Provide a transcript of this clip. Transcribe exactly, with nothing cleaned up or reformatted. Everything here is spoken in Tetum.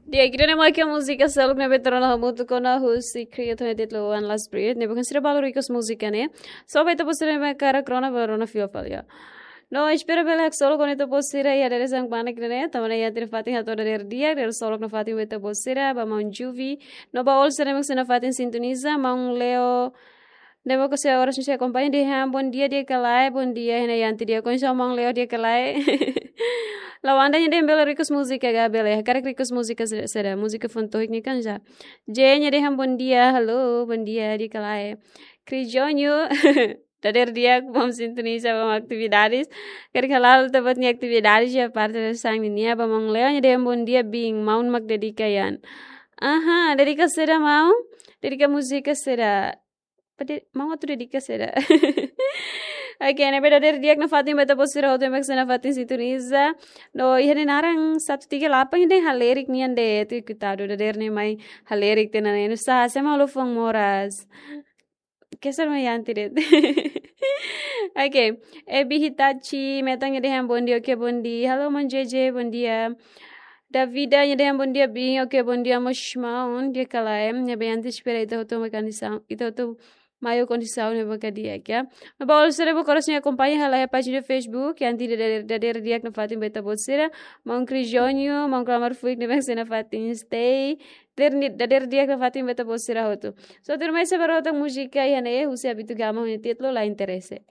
Di'ak, ida-ne'e mak múzika seluk ne'ebé tuur ona hamutuk ona husi Creator ne'e títulu One Last Breath, ne'ebé kan sira balu request múzika ne'e. So, ba ita-boot sira ne'ebé hakarak rona, bá rona fila fali. No, espera bele haksolok ona ita-boot sira iha dadeer-saan kmanek ne'e, tanba ne'e iha ita-nia fatin hato'o dadeer di'ak, dadeer solok nafatin ba ita-boot sira, ba maun Juvi, no ba all sira ne'ebé mak sira nafatin sintoniza, maun Leo, ne'ebé mak sira oras ne'e sira akompaña, dehan bom dia, di'ak ka lae, bom dia, hena Yanti di'ak, kondisaun maun Leo di'ak ka lae. Lawanda nia dehan bele request múzika ka bele, hakarak request múzika sira, sira, múzika foun tohik ne'e kan já. J nia dehan bom dia, halo, bom dia, di'ak ka lae. Cris Jonho, dadeer di'ak, bom sintoniza, bom atividades. Karik hala'o ita-boot nia atividades iha parte dadeer-saan nian, ba maun Leo nia dehan bom dia, bin, maun mak dedika Yan. Aha, dedika saida maun? Dedika múzika saida? Pade, maun atu dedika saida? Oke, ne'ebé dadeer di'ak nafatin ba ita-boot sira hotu ne'ebé mak sira nafatin sintoniza. No, iha nia naran satu tiga delapan ida halerik nian de'it, kuitadu, dadeer ne'e mai halerik tiha ona ne'e. Nusá, sé mak halo foun moras? Keser mai Yanti de'it. Oke, Ebi Hitachi, Metan nia dehan bom dia, oke, bom dia. Halo, maun J J, bom dia. Davida nia dehan bom dia, bin, oke, bom dia, mós maun, di'ak ka lae, ne'ebé Yanti espera ita hotu mai kondisaun, ita hotu mai ho kondisaun ne'ebé mak di'ak, ya. Ba all sira ne'ebé oras ne'e akompaña hela iha pájina Facebook, Yanti dadeer, dadeer di'ak nafatin ba ita-boot sira, maun Cris Jonho, maun Klamar Fuik ne'ebé mak sira nafatin stay, dadeer ni, dadeer di'ak nafatin ba ita-boot sira hotu. So, tuirmai sei bá rona tan múzika iha ne'e, husi Abito Gama nia títulu La Interese.